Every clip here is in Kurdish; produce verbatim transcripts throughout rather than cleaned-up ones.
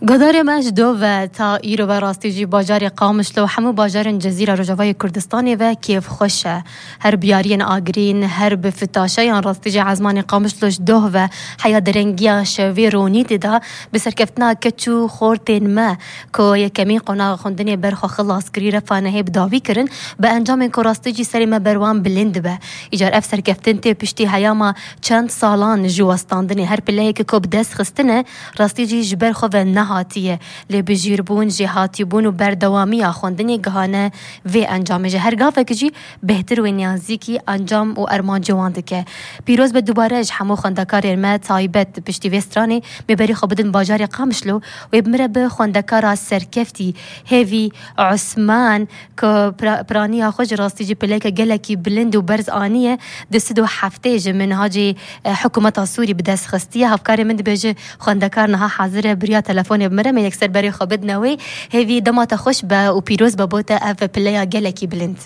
Guhdarê me ji do ve ta îro ve rastî jî bajarê Qamişlo û hemû bajarên Cezîra Rojavayê Kurdistanê ve kêfxweş e. Her biyariyên agirîn, her bi fitaşeyan rastî jî ezmanê Qamişlo ji doh ve heya derengiya şevê ronî dida bi serkeftina keç û xortên me ku yekemîn qonaxa xwendinê ber xwe xilas kirî refa nehê bi dawî kirin, bi encamên ku rastî jî serê me ber wan bilind dibe. Îcar ev serkeftin tê piştî heyama çend salan ji westandinê her pileyeke ku bi dest xistine, rastî jî ji ber xwe ve nehatiye. Lê bijîrbûn, jêhatîbûn û berdewamiya xwendinê gihane vê encamê. Ji her gavek jî bêhtir wê niyazîkî encam û ermancê wan dike. Pîroz be dubare ji hemû xwendekarên me taybet piştî vê stranê, me berî xwe bidin bajarê Qamişlo, wê bi min re bi xwendekara serkeftî Hêvî Osman, ku pira-, piraniya xwe ji rastî jî pileke gelekî bilind û berz aniye, du sed û heftê ji minhacê, e, hikûmeta Sûrî bi dest xistiye. Hevkarê min dibêje, xwendekar niha hazir e, biriya telefonê bi min re, me yekser berê xwe bidine wê. Hêvî dema te xweş be û pîroz be bo te ev pileya gelekî bilind.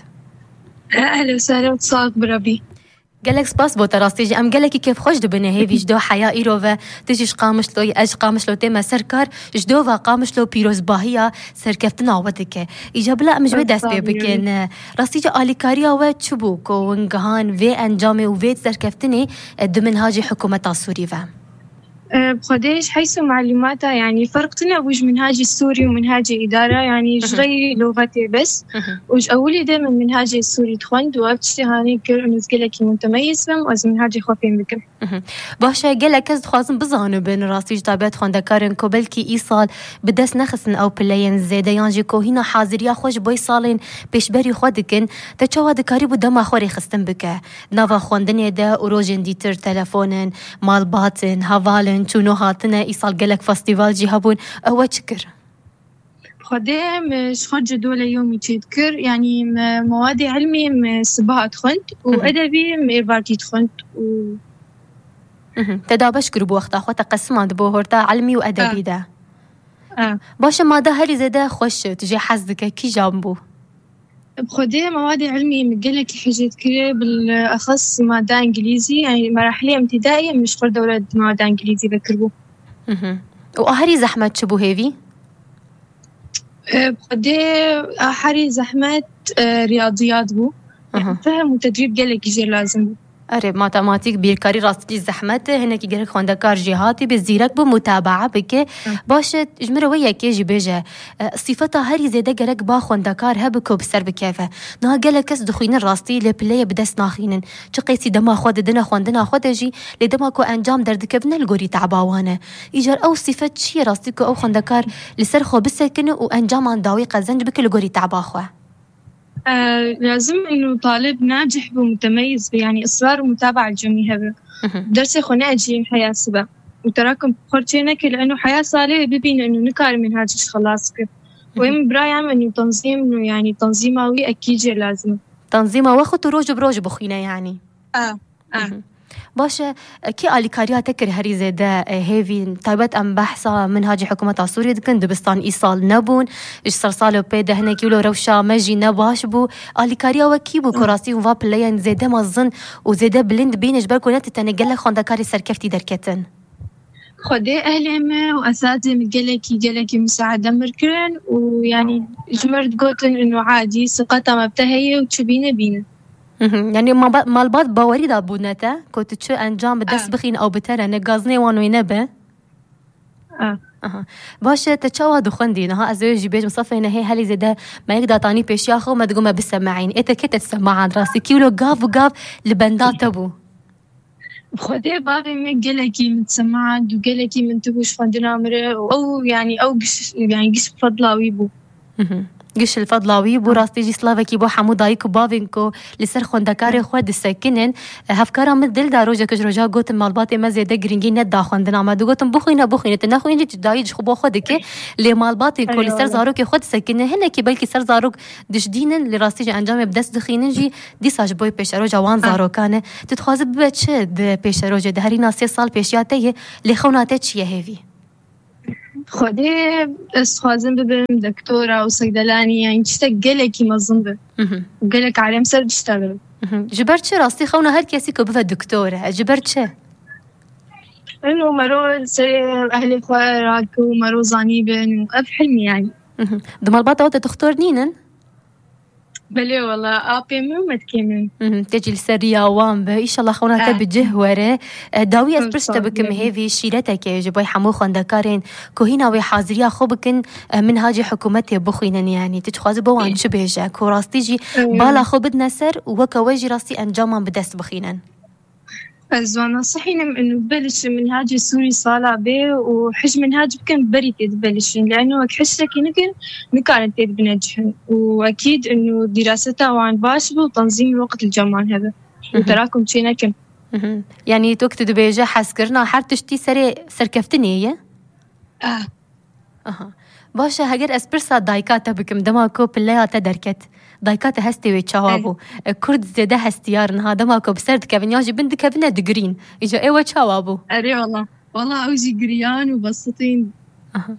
Ehlen we sehlen, sağ ol, bi rabî. Gelek spas bo te rastî jî. Em gelekî kêfxweş dibine hêvî ji do heya îro ve tu jî ji Qamişloyî, ez ji Qamişlo tême ser kar, ji do ve Qamişlo pîrozbahiya serkeftina we dike. Îca bila em ji wê dest pê bikin. Rastî jî alîkariya we çi bû ku hûn gihan vê encamê û vê serkeftinê, e, di minhacê hikûmeta Sûrî ve? E, bi Xwedê ji heyso malûmata, yanî ferq tune bû ji minhacê Sûrî û minhacê îdara, yanî ji Hı hı. reyî lûxetê bes. Hı hı. Û ji ewilî de min minhacê Sûrî dixwend û ev tiştê hanê kir û ez gelekî mutemeyîz bim û ez minhacê xwe fêm bikim. Mhm. Baş e, gelek kes dixwazin bizanibin, rastî ji taybet xwendekarên ku belkî îsal bi dest nexistin ew pileyên zêde yan jî ku hîna haziriya xwe ji bo salên pêşberî xwe dikin, te çawa dikarîbû dema xwe rêxistin bike? Nava xwendinê de û rojên dîtir telefonin, malbatin, hevalin, çûn û hatine, îsal gelek festîval jî hebûn, ew we çi kir? Xwedê min ji xwe cedwele yomî çêdikir, yanî min mewadê ilmî min sibaha dixwend û Hı hı. edebî min êvarkî dixwend û Mhm. Te dabeş kiribû wexta xwe, te qesimandibû horta ilmî û edebî Ah. de. Ah. Baş e, mada herî zêde xweş tu jê hez dike, kîjan bû? Bi Xwedê mewadê ilmî min gelekî hicê dikir, bil exas mada îngilîzî, yanî merahilê imtîdaiyê min ji xwe dewre mada îngilîzî vekiribû. Mhm. Û a herî zehmet çi bû hêvî? E, bi Xwedê a herî zehmet, e, riyadiyat bû. Aha. Fehm û tedrîb gelekî jê lazim bû. Erê, matematîk, bîrkarî rastî zehmet e. Hinekî gerek xwendekar jêhatî be, zîrek be, mutabaa bike. Hı. Baş e, ji min re wê yekê jî bêje. E, sîfeta herî zêde gerek ba xwendekar hebe ku bi ser bikeve. Niha gelek kes dixwînin rastî, lê pileyê bi dest naxînin. Çi qeysî dema xwe didine xwendina xwe de jî, lê dema ku encam derdikevine li gorî teba wan e. Îcar ew sîfet çi ye rastî ku ew xwendekar li ser xwe bisekine û encaman dawî qezenc bike li gorî teba xwe? E, lazim inu talib nacih be, mutemeyyiz be, yanî israr û mutabaa cemî hebe. Mhm. Dersê xwe neecî heya sibe. Û terakim xwe çê neke li inu heya salê bibîne inu nikare minhacê xelas bike. Û Mhm. em birayam inu tenzîm inu, yanî tenzîma wî ekî jê lazim e. Tenzîma we xwe tu roj bi roj bixwîne yanî? A, a. Mhm. Baş e, kî alîkariya te kir herî zêde, e, hêvî, taybet em behsa minhacê hikûmeta Sûriyê dikin, dibistan îsal nebûn, ji sersalo pê de hinekî wilo rewşa me jî ne baş bû. Alîkariya we kî bû ku Hı. rastî hûn va pileyên zêde mezin û zêde bilind bîne, ji ber ku ne tu tenê gelek xwendekarê serkeftî derketin? Xwedê ehlê me û esatê min gelekî, gelekî misaade mir kirin û, yanî, ji mir digotin inu adî, siqeta me bi te heye û çi bîne bîne. Mhm. Yanî maba-, malbat bawerî dabûne te, ku tu çi encam bi dest Ah. bixîn ew bi te re ne, gazinê wan wê nebe? Ah. Aha. Baş e, te çawa dixwendî? Niha ez ê jî bêjim, sefê nehê herî zêde me yek datanî pêşiya xwe û me digot me bisemeîn. Ê te kê te disemeand rastî? Kî wilo gav û gav li benda te bû? Xwedê bavê me gelekî min disemeand û gelekî min tibû ji xwendina min re û ew, yanî ew giş, yanî giş fedla wî bû. Mhm. Giş li fedla wî bû, rastî jî slavekî bo hemû dayik û bavên ku li ser xwendekarê xwe disekinin. Hevkara min dil da rojek ji roja gotin malbatê me zêde girîngî neda xwendina me. Digotin bixwîne, bixwîne, tu nexwînî, tu dayî ji xwe bo xwe dike. Lê malbatên ku li ser zarokê xwe disekinin, hinekî belkî ser zarok dişdînin, li rastî jî encamê bi dest dixînin jî dîsa ji bo pêşeroja wan zarokan e. Tu dixwazi bibe çi di pêşerojê de? Herîna sê sal pêşiya te ye, lê xewna te çi ye hêvî? Xwedê ez dixwazim bibim doktora û segdelanî, yanî tiştek gelekî mezin be. Mhm. Û gelek alem ser dişta be. Mhm. Ji ber çi rastî xewna her kesî ku bibe doktor e? Ji ber çi? Eno mero ser ehlê xwe rake û mero zanî bin û ev hilmî yani. Di malbata te dixtor nînin? Belê wala, apê min û metkê min. Tê cî li ser riya wan be. Îşallah xewna te bi cih were. Dawî ez pirs te bikim, hêvî şîreteke ji bo hemû xwendekarên ku hîna wê haziriya xwe bikin, minhacê hikûmetê bixwînin, yanî tu dixwazî bo wan çi bêje, ku rastî jî bala xwe bidine ser û weke we jî rastî encaman bi dest bixînin. Ez wana sihînim inu belişin minhacê Sûrî sala bê û hij minhac bikin berî tê dibelişin. Leno wek hiştekî nikin, nikarin tê dibine cihin. Û ekîd inu dîraseta wan baş bû, tanzîm waqt li ceman hebe. Û terakum çê nekin. Yanî tu tu dibêje hezkirina her tiştî serê serkeftinê ye? Ah. Aha. Baş e, heger ez pirsa dayika te bikim, dema ku pileya te derket. Dayika te hestê wê çawa bû? E, Kurd zêde hestiyar in ha, dema ku bi ser dikevin, ya jî bin dikevine digirîn. Îca ê we çawa bû? Erê wala. Wala ew jî giriyan û besitîn. Aha.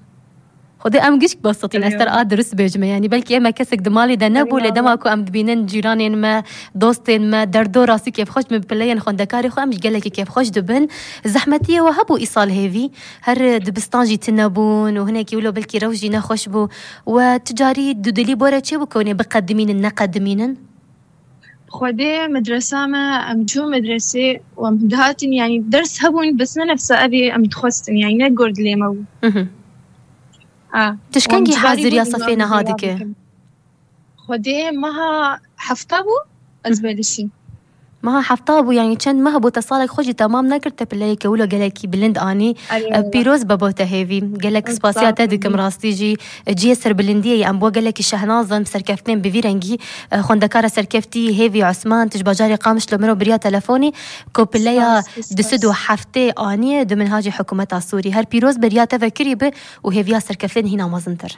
Xwedê em gişk besitîn, ez ter a dirust bêjime. Yanî belkî ême kesek di malê de nebû, lê dema ku em dibînin cîranên me, dostên me, derdo rastî kêfxweş dibin, bi pileyên xwendekarê xwe em jî gelekî kêfxweş dibin. Zehmetiyê we hebû îsal hêvî? Her dibistan jî tune bûn û hinekî wilo belkî rewş jî nexweş bû. We tu carî dudilî bore çê bû ku hûn ê biqedimînin, neqedimînin? Xwedê medresa me, em çûn medresê û em dihatin, yanî ders hebûn, bes ne nefsa evê em dixwestin, yanî ne gor dilê me bû. Tişkengî haziriya sefê neha dike? Xwedê meha hefta bû, ez belişî. Meha hefta bû, yanî çend meh bû te salek xwe jî temam nekir, te pileyeke wilo gelekî bilind anî. Pîroz be bo te hêvî. Gelek spasiya te dikim rastî jî. Cihê serbilindiyê ye, em bo gelekî şehnaz in, serkeftinên bi vî rengî. Xwendekara serkeftî Hêvî Osman, tu ji bajarê Qamişlo miro biriya telefonî, ku pileya du sed û heftê aniye di minhacê hikûmeta Sûrî. Her pîroz be, riya te vekirî bi û hêviya serkeftinên hîna mezintir.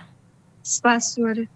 Spas, were.